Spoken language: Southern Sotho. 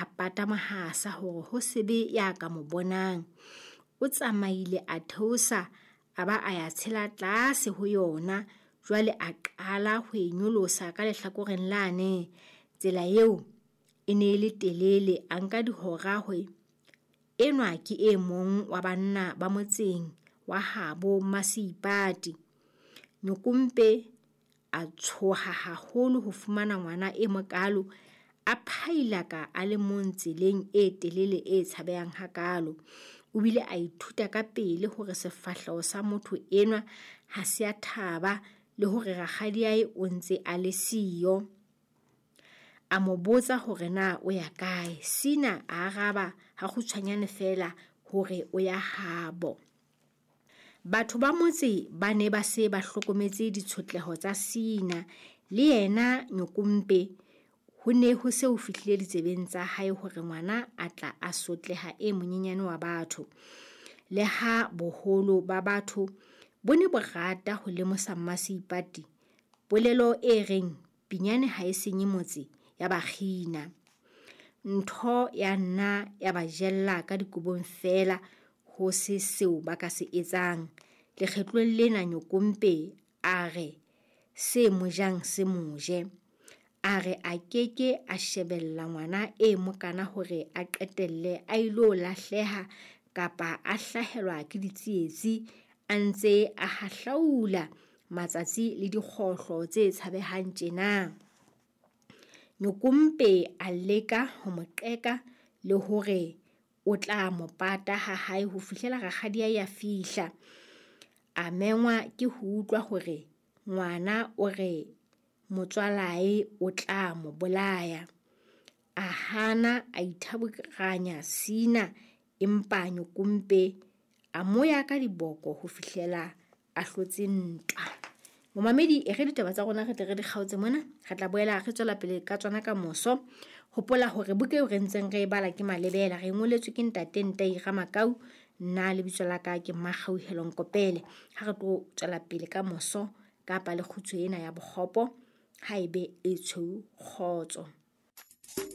A pata mohasa hore ho se be ya ka mo bonang. O tsamaile a theosa a ba a ya tshela tlase ho yona, jwale a qala ho e nyolosa ka lehlakoreng lane. Tsela eo e ne e le telele, a nka dihora ho e. Enwa ke e mong wa banna ba motseng wa habo Mmaseipati. Nyokompe a tshoha haholo ho fumana ngwana e mokalo a phailaka a le mong tseleng e telele e tshabehang hakaalo. O bile a ithuta ka pele hore sefahleho sa motho enwa ha se a thaba le hore rakgadiae o ntse a le siyo. A mo botsa hore na o ya kae. Sina a araba hakgutshwanyane feela hore o ya habo. Batho ba motse ba ne ba se ba hlokometse ditshotleho tsa Sina. Le yena Nyokompe ho ne ho se ho fihlile ditsebeng tsa hae hore ngwana a tla a sotleha e monyenyane wa batho. Le ha boholo ba batho bo ne bo rata ho lemosa Mmaseipati, polelo e reng pinyane ha e senye motse ya ba kgina. Ntho ya nna ya ba jella ka dikobong feela ho se seo ba ka se etsang. Lekgetlong lena Nyokompe a re se mo jang se mo je. A re a ke ke a shebella ngwana e mokana hore a qetelle a ilo lahleha kapa a hlahelwa ke ditsietsi a ntse a hahlaula matsatsi le dikgohlo tse tshabehang tjena. Nyokompe a leka ho mo qeka le hore o tla mo pata ha hae ho fihlela rakgadiae a fihla. A mengwa ke ho utlwa hore ngwana o re motswalae o tla mo bolaya. A hana a ithaburanya Sina empa Nyokompe a mo ya ka diboko ho fihlela a hlotse ntwa. Momamedi, e re ditaba tsa rona re tle re di kgaotse mona. Re tla boela re tswela pele ka tsona ka moso. Hopola hore buka eo re ntseng re e bala ke Malebela, re e ngoletswe ke ntate Ntai Ramakau. Nna lebitso la ka ke Mmakgauhelo Nkopele. Ha re tlo tswela pele ka moso kapa le kgutshwe ena ya bokgopo, ha ebe e tshweu kgotso.